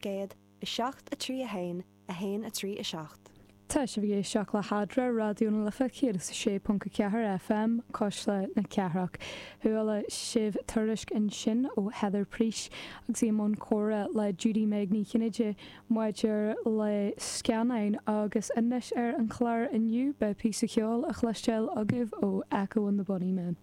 800, 7 3 1 1 3 7. Tá sibh ag éisteacht le hEadra, Raidió na Life 106.4 FM, Cuisle na Cathrach. Chuala sibh tuairisc ansin ó Heather Preece agus í i mbun comhrá le Judy Meg Ní Chinnéide maidir le scannáin agus anois ar an chlár inniu beidh píosa ceoil á chloisteáil agaibh ó Echo and the Bunnymen.